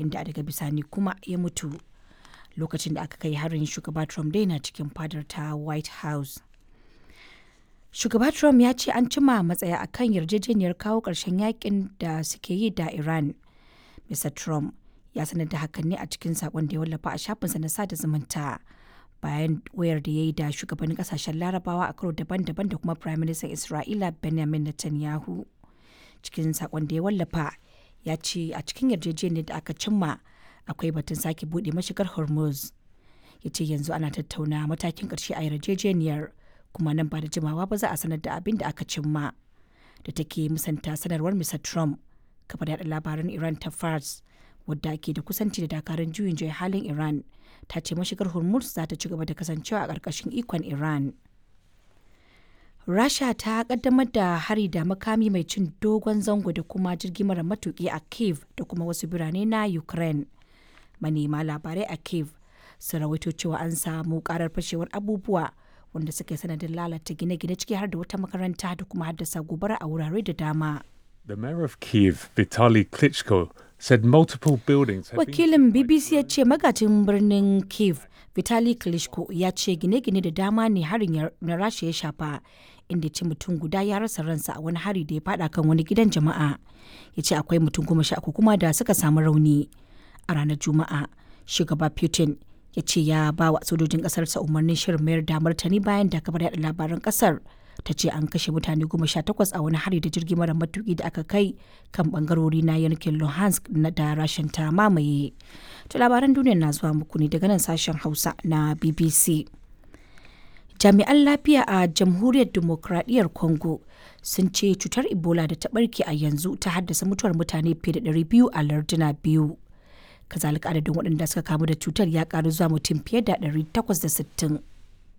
inda daga bisani kuma ya mutu. Lokacin da aka kai harin, shugaba Trump dai na cikin fadar ta White House. Shugaba Trump ya ce an cima matsaya akan yarjejeniyar kawo ƙarshen yakin da suke yi da Iran. Mr. Trump ya sanar da hakan ne a cikin sakon da ya wallafa a shafinsa na sada zumunta, bayan wayar da ya yi da shugabannin kasashen Larabawa a karo daban-daban da kuma Prime Minister Isra'ila Benjamin Netanyahu. Cikin sakon da ya wallafa, ya ce a cikin yarjejeniyar da aka cimma akwai batun sake buɗe mashigar Hormuz. Ya ce yanzu ana tattauna matakin ƙarshe a yarjejeniyar, kuma nan ba da jimawa ba za a sanar da abin da aka cimma. Da take musanta sanarwar Mr. Trump, kafar yaɗa labaran Iran ta Fars, wadda ke da kusanci da dakarun juyin juya halin Iran, ta ce mashigar Hormuz za ta ci gaba da kasancewa a ƙarƙashin ikon Iran. Rasha ta kaddamar da hari da makami mai cin dogon zango da kuma jirgi mara matuki a Kiev da kuma wasu birane na Ukraine. Manema labarai a Kiev sun rawaito cewa an samu karar fashewar abubuwa wanda suka yi sanadin lalata gine-gine, ciki har da wata makaranta, da kuma haddasa gobara a wurare da dama. The mayor of Kiev, Vitaly Klitschko, said multiple buildings had been Wakilin BBC ya ce magajin birnin Kiev, Vitali Klitschko, ya ce gine-gine da dama ne harin na Rasha ya shafa, inda ce mutum guda ya rasa ransa a wani hari da ya fada kan wani gidan jama'a. Ya ce akwai mutum 13 kuma da suka samu rauni. A ranar Juma'a, shugaba Putin ya ce ya ba wa sojojin kasarsa umarnin shirin mayar da martani bayan da kafar yada labaran kasar ta ce an kashe mutane 18 a wani hari da jirgi mara matuki da aka kai kan bangarori na yankin Luhansk na da Rashin ta mamaye. To labaran duniya na zuwa muku ne daga nan sashen Hausa na BBC. Jami'an lafiya a Jamhuriyar Dimokuraɗiyyar Congo sun ce cutar Ebola da ta barke a yanzu ta haddasa mutuwar mutane fiye da 200 a larduna biyu. Kazalika adadin waɗanda suka kamu da cutar ya ƙaru zuwa mutum fiye da 860.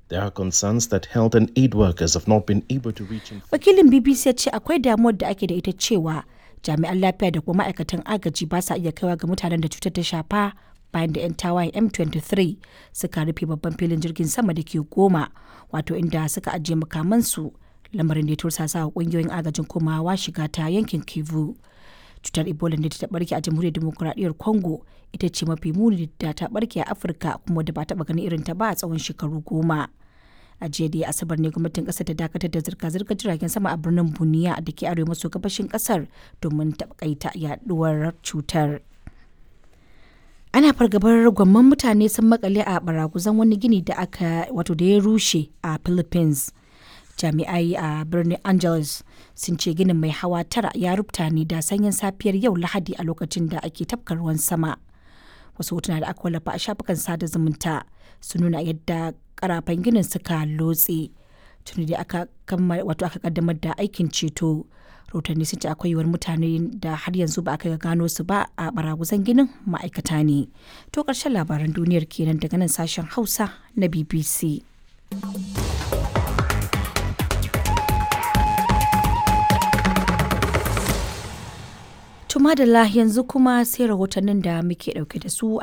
There are concerns that health and aid workers have not been able to reach Wakilin BBC ya ce akwai damuwar da ake da ita cewa jami'an lafiya da kuma ma'aikatan agaji ba sa iya kaiwa ga mutanen da cutar ta shafa bayan da 'yan tawayen M23 suka rufe babban filin jirgin sama da ke Goma, wato inda suka ajiye makamansu, lamarin da ya tursasa wa kungiyoyin agajin komawa shiga ta yankin Kivu. Cutar Ebola ne ta barke a Jamhuriyar Demokuraɗiyyar Congo ita ce mafi muni da ta barke a Afirka kuma da ba taɓa ganin irin ta ba a tsawon shekaru 10. A jiya da Asabar ne gwamnatin kasar ta dakatar da zirga-zirgar jiragen sama a birnin Buniya da ke arewa maso gabashin kasar domin takaita yaduwar cutar. Ana fargabar gwamman mutane sun makale a baraguzan wani gini da aka wato da ya rushe a Philippines. Jami'ai a birnin Angeles sun ce ginin mai hawa tara ya rubuta ne da sanyin safiyar yau Lahadi a lokacin da ake tafka ruwan sama. Wasu hotuna da aka wallafa a shafukan sada zumunta sun nuna yadda karafan ginin suka lotse. Tuni da aka kammala, wato aka kaddamar da aikin ceto. Rahotanni sun ce akwai yiwuwar mutane da har yanzu ba aka gano su ba a baraguzan ginin ma'aikata ne. To karshen labaran duniyar kenan daga nan sashen Hausa na BBC. To madalla, yanzu kuma sai rahotannin da muke dauke da su.